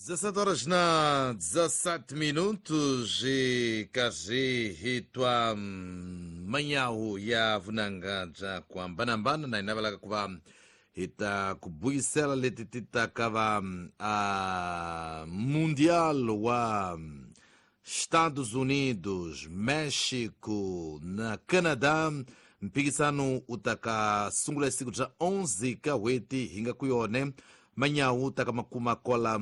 17 horas na 17 minutos e karhi hi twa manyawu ya vunanga bya ku hambanahambana na hi navelaka ku va hi ta ku buyisela leti ti taka va a Mundial wa Estados Unidos, México na Canadá. Mphikisano wu ta ka sungula hi siku bya 11 ka n'hweti hi nga ku yone. Manyawu wu ta ka makuma kwala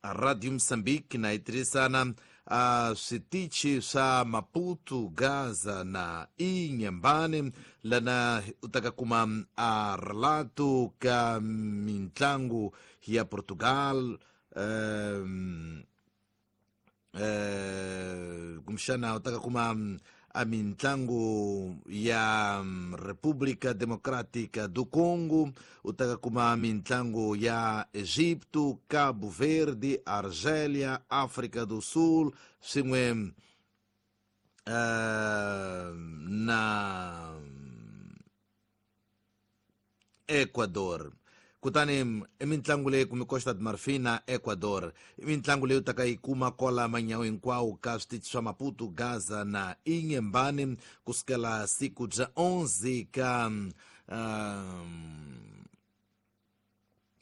Radio Mozambique na yi tirhisana a switichi swa Maputo, Gaza na Inhambane, lana u ta ka kuma a relato ka mintlangu ya Portugal, kumbexana u ta ka kuma a mintlangu ya República Democrática do Congo, u ta ka kuma mintlangu ya Egipto, Cabo Verde, Argélia, África do Sul swin'we na Ecuador. Kutani i mitlangu leyi kumbe Costa de Marfin na Ecuador, i mitlangu leyi u taka yi kuma kwala manyawu hinkwawo ka switichi swa Maputo, Gaza na Inhambane kusukela siku bya 11 ka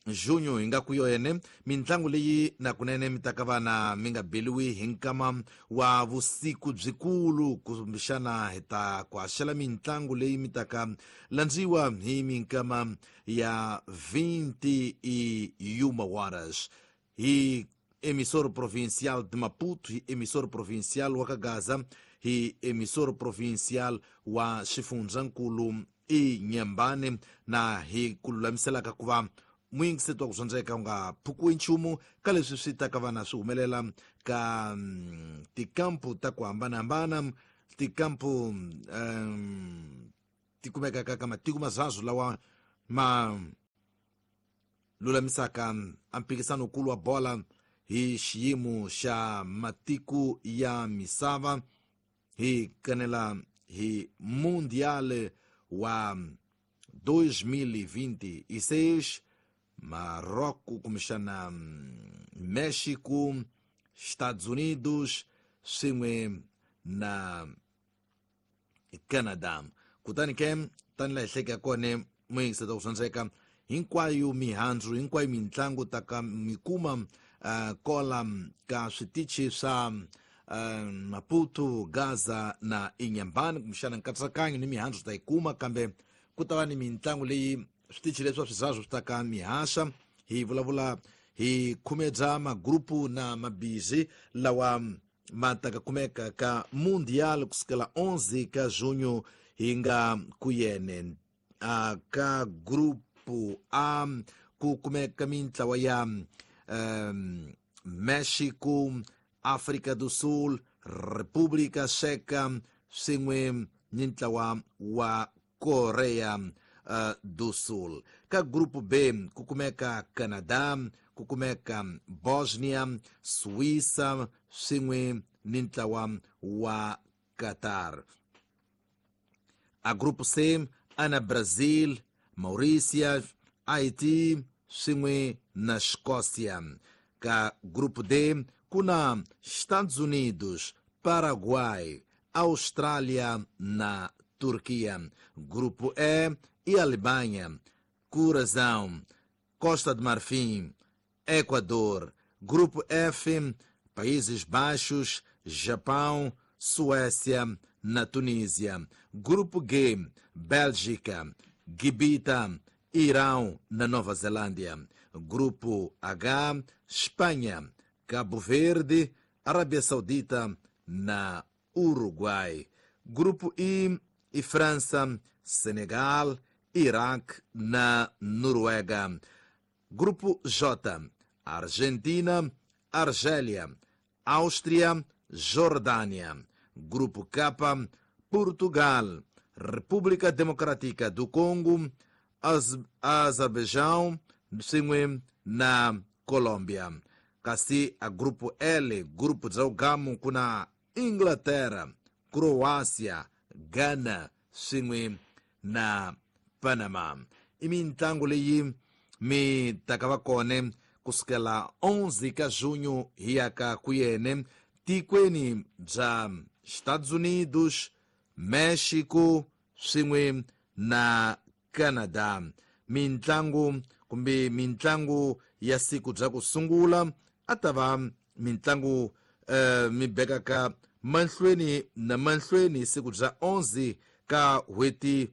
junho hi nga ku yone. Mitlangu leyi na kunene mi ta ka vana mi nga beliwi hi nkama wa vusiku byikulu, kumbexana hi ta ku haxela mitlangu leyi mi ta ka landziwa hi minkama ya 21 horas hi emissor provincial de Maputo, hi emissor provincial wa ka Gaza, hi emissor provincial wa xifundzankulu Inhambane. Na hi ku lulamiselaka ku va muyingiseti wa ku dyondzeka u nga phukiwi nchumu ka leswi swi ta ka vana swi humelela ka tikampu ta ku hambanahambana, tikampu ti kumekaka ka matiko mazazu lawa ma lulamisaka a mphikisano wukulu wa bola hi xiyimo xa matiko ya misava, hi kanela hi Mundial wa 2026, Marrocos kumbexana México, Estados Unidos swin'we na Canada. Kutani ke tani laha hi hleketa kona, muyingiseti wa ku dyondzeka, hinkwayo mihandzu, hinkwayo mitlangu ta ka mi kuma kola ka switichi swa Maputo, Gaza na Inhambane, kumbexana nkatsakanyo ni mihandzu ta yi kuma, kambe ku ta va ni mitlangu leyi switichi leswi swa swizazu swi ta ka mihaxa. Hi vulavula hi khume bya magrupu na mabizi lawa ma ta ka kumeka ka Mundial kusukela 11 ka junho hi nga ku yene. Ka grupu A ku kumeka mintlawa ya Mexico, África do Sul, República Checa swin'we ni ntlawa wa Korea do Sul. Ka grupu B ku kumeka Canada, ku kumeka Bosnia, Suíça swin'we ni ntlawa wa Qatar. A grupo C ana Brazil, Mauritius, Haiti swin'we na Escócia. Ka grupo D ku na Estados Unidos, Paraguai, Austrália na Turquia. Grupo E e Alemanha, Curazão, Costa de Marfim, Equador. Grupo F, Países Baixos, Japão, Suécia na Tunísia. Grupo G, Bélgica, Gibita, Irão na Nova Zelândia. Grupo H, Espanha, Cabo Verde, Arábia Saudita na Uruguai. Grupo I e França, Senegal, Iraque na Noruega. Grupo J, Argentina, Argélia, Áustria, Jordânia. Grupo K, Portugal, República Democrática do Congo, Azerbaijão, swin'we na Colômbia. Kasi a grupo L, grupo bya ugamu, ku na Inglaterra, Croácia, Ghana swin'we na Panama. I mitlangu leyi mi taka va kona. kusukela 11 ka junho hi ya ka kuyene tikweni bya Estados Unidos, Mexico swin'we na Canada. Mintlangu kumbe mintlangu ya siku bya ku sungula a ta va mintlangu mi bekaka mahlweni na mahlweni siku bya 11 ka n'hweti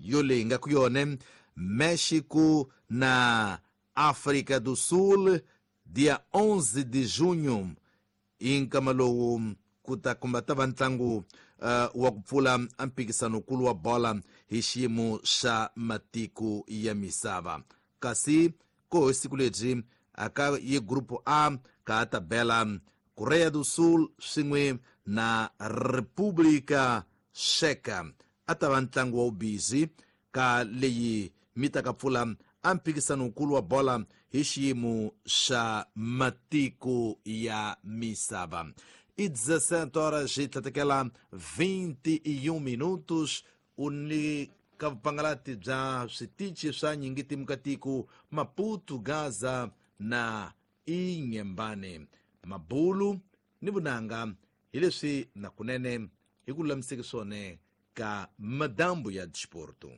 yoleyi nga ku yone Mexico na África do Sul dia 11 de junho i nkama lowu ku ta kumba ta va ntlangu wa ku pfula mphikizanokulu wa bola hi xiyimo xa matiko ya misava. Kasi ko hi siku lebyi aka ye grupo A ka ta bela Korea do Sul swin'we na República Checa a ta va ntlangu wa vubizi ka leyi mi ta ka pfula a mphikizanokulu wa bola hi xiyimo xa matiko ya misava. I 17 horas e tlhatekela 21 minutos u ni ka vupangalati bya switichi swa nyingitimu ka tiko Maputo, Gaza na Inhambane, Mabulu ni vunanga hi leswi nakunene hi ku lulamiseke swona ka madambu ya disporto.